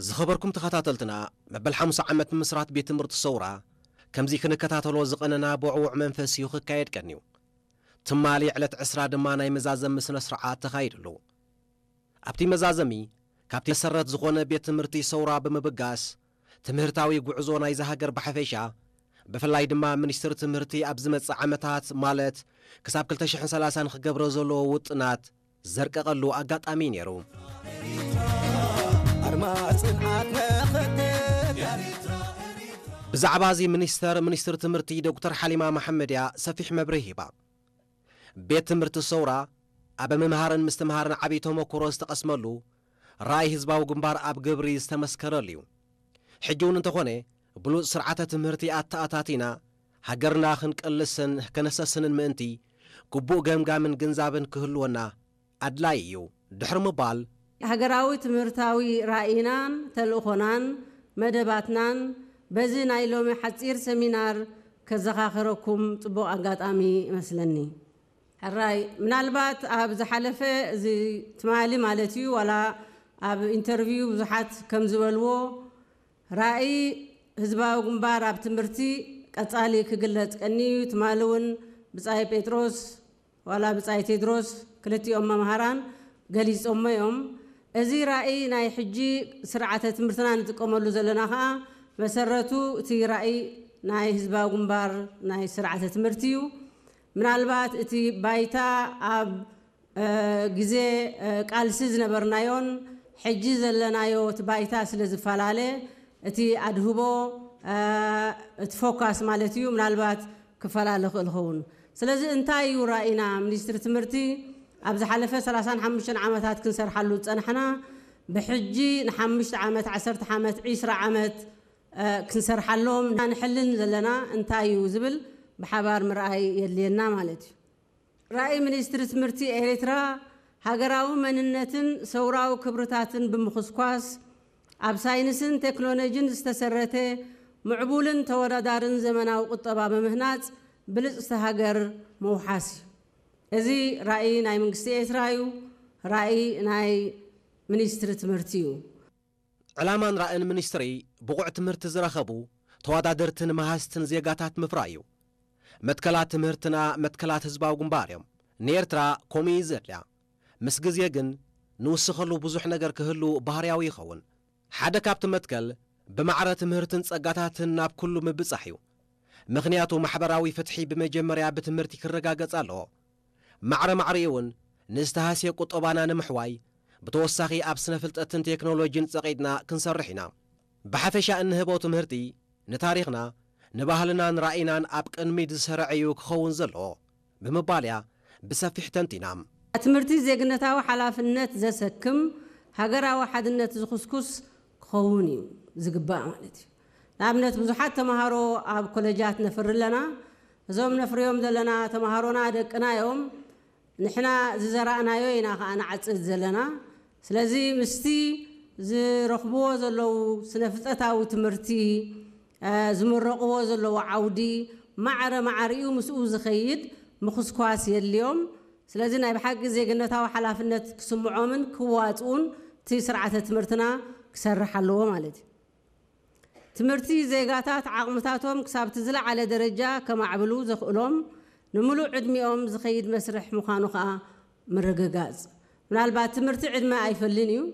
ዝኸበርኩም ተኸታተልትና፣ መበል ሓሙሳ ዓመት ምምስራት ቤት ትምህርቲ ሰውራ ከምዚ ክንከታተሎ ዝቐነና ብዕዉዕ መንፈስ እዩ ክካየድ ቀንዩ። ትማሊ ዕለት ዕስራ ድማ ናይ መዛዘሚ ስነ ስርዓት ተኻይድሉ። ኣብቲ መዛዘሚ ካብቲ መሰረት ዝኾነ ቤት ትምህርቲ ሰውራ ብምብጋስ ትምህርታዊ ጉዕዞ ናይዛ ሃገር ብሓፈሻ፣ ብፍላይ ድማ ሚኒስትሪ ትምህርቲ ኣብ ዝመጽእ ዓመታት ማለት ክሳብ ክልተ ሽሕን ሰላሳን ክገብሮ ዘለዎ ውጥናት ዘርቀቐሉ ኣጋጣሚ ነይሩ። ኣርማ ጽንዓት መኸተብ። ብዛዕባ እዚ ሚኒስተር ሚኒስትሪ ትምህርቲ ዶክተር ሓሊማ መሓመድ እያ ሰፊሕ መብርሂ ሂባ። ቤት ትምህርቲ ሰውራ ኣብ ምምሃርን ምስትምሃርን ዓብዪ ተመክሮ ዝተቐስመሉ፣ ራእይ ህዝባዊ ግንባር ኣብ ግብሪ ዝተመስከረሉ እዩ። ሕጂ እውን እንተኾነ ብሉጽ ስርዓተ ትምህርቲ ኣተኣታቲና ሃገርና ክንቅልስን ከነሰስንን ምእንቲ ግቡእ ገምጋምን ግንዛብን ክህልወና ኣድላይ እዩ ድሕሪ ምባል፣ ሃገራዊ ትምህርታዊ ራእይናን ተልእኾናን መደባትናን በዚ ናይ ሎሚ ሓጺር ሰሚናር ከዘኻኽረኩም ጽቡቕ ኣጋጣሚ ይመስለኒ። ሕራይ፣ ምናልባት ኣብ ዝሓለፈ፣ እዚ ትማሊ ማለት እዩ፣ ዋላ ኣብ ኢንተርቪው ብዙሓት ከም ዝበልዎ፣ ራእይ ህዝባዊ ግንባር ኣብ ትምህርቲ ቀጻሊ ክግለጽ ቀንዩ። ትማሊ እውን ብጻይ ጴጥሮስ ዋላ ብጻይ ቴድሮስ፣ ክልቲኦም መምሃራን ገሊጾሞ እዮም። እዚ ራእይ ናይ ሕጂ ስርዓተ ትምህርትና ንጥቀመሉ ዘለና ኸኣ መሰረቱ እቲ ራእይ ናይ ህዝባዊ ግንባር ናይ ስርዓተ ትምህርቲ እዩ። ምናልባት እቲ ባይታ ኣብ፣ እ፣ ግዜ፣ እ፣ ቃልሲ ዝነበርናዮን ሕጂ ዘለናዮ እቲ ባይታ ስለ ዝፈላለ እቲ ኣድህቦ፣ እ፣ እቲ ፎካስ ማለት እዩ ምናልባት ክፈላለ ክእል ኸውን። ስለዚ እንታይ እዩ ራእይና? ሚኒስትሪ ትምህርቲ ኣብ ዝሓለፈ ሰላሳን ሓሙሽተን ዓመታት ክንሰርሓሉ ዝጸናሕና ብሕጂ ንሓሙሽተ ዓመት፣ ዓሰርተ ዓመት፣ ዒስራ ዓመት፣ እ፣ ክንሰርሓሎም ንሕልን ዘለና እንታይ እዩ ዝብል ብሓባር ምርኣይ የድልየና ማለት እዩ። ራእይ ሚኒስትሪ ትምህርቲ ኤርትራ ሃገራዊ መንነትን ሰውራዊ ክብርታትን ብምኹስኳስ ኣብ ሳይንስን ቴክኖሎጂን ዝተሰረተ ምዕቡልን ተወዳዳርን ዘመናዊ ቁጠባ ብምህናጽ ብልጽቲ ሃገር ምውሓስ እዩ። እዚ ራእይ ናይ መንግስቲ ኤርትራ እዩ። ራእይ ናይ ሚኒስትሪ ትምህርቲ እዩ። ዕላማን ራእን ሚኒስትሪ ብቑዕ ትምህርቲ ዝረኸቡ ተወዳደርትን መሃዝትን ዜጋታት ምፍራይ እዩ። መትከላት ትምህርትና መትከላት ህዝባዊ ግንባር እዮም። ንኤርትራ ከምኡ እዩ ዘድልያ። ምስ ግዜ ግን ንውስኸሉ ብዙሕ ነገር ክህሉ ባህርያዊ ይኸውን። ሓደ ካብቲ መትከል ብማዕረ ትምህርትን ጸጋታትን ናብ ኩሉ ምብጻሕ እዩ። ምኽንያቱ ማሕበራዊ ፍትሒ ብመጀመርያ ብትምህርቲ ክረጋገጽ ኣለዎ። ማዕረ ማዕሪኡ እውን ንዝተሃስየ ቁጠባና ንምሕዋይ ብተወሳኺ ኣብ ስነ ፍልጠትን ቴክኖሎጂን ጸቒጥና ክንሰርሕ ኢና። ብሓፈሻ እንህቦ ትምህርቲ ንታሪኽና፣ ንባህልናን ራእይናን ኣብ ቅድሚት ዝሰርዕ እዩ ክኸውን ዘለዎ ብምባል እያ ብሰፊሕ ተንቲና። ትምህርቲ ዜግነታዊ ሓላፍነት ዘሰክም፣ ሃገራዊ ሓድነት ዝኹስኩስ ክኸውን እዩ ዝግባእ ማለት እዩ። ንኣብነት ብዙሓት ተምሃሮ ኣብ ኮለጃት ነፍሪ ኣለና። እዞም ነፍርዮም ዘለና ተምሃሮና ደቅና እዮም። ንሕና ዝዘራእናዮ ኢና ከኣ ንዓጽድ ዘለና። ስለዚ ምስቲ ዝረኽብዎ ዘለዉ ስነ ፍልጠታዊ ትምህርቲ፣ እ፣ ዝምረቕዎ ዘለዉ ዓውዲ ማዕረ ማዕሪኡ ምስኡ ዝኸይድ ምኹስኳስ የድልዮም። ስለዚ ናይ ብሓቂ ዜግነታዊ ሓላፍነት ክስምዖምን ክዋጽኡን እቲ ስርዓተ ትምህርትና ክሰርሕ ኣለዎ ማለት እዩ። ትምህርቲ ዜጋታት ዓቕምታቶም ክሳብ እቲ ዝለዓለ ደረጃ ከማዕብሉ ዘኽእሎም ንምሉእ ዕድሚኦም ዝኸይድ መስርሕ ምዃኑ ከኣ ምርግጋጽ። ምናልባት ትምህርቲ ዕድመ ኣይፈልን እዩ።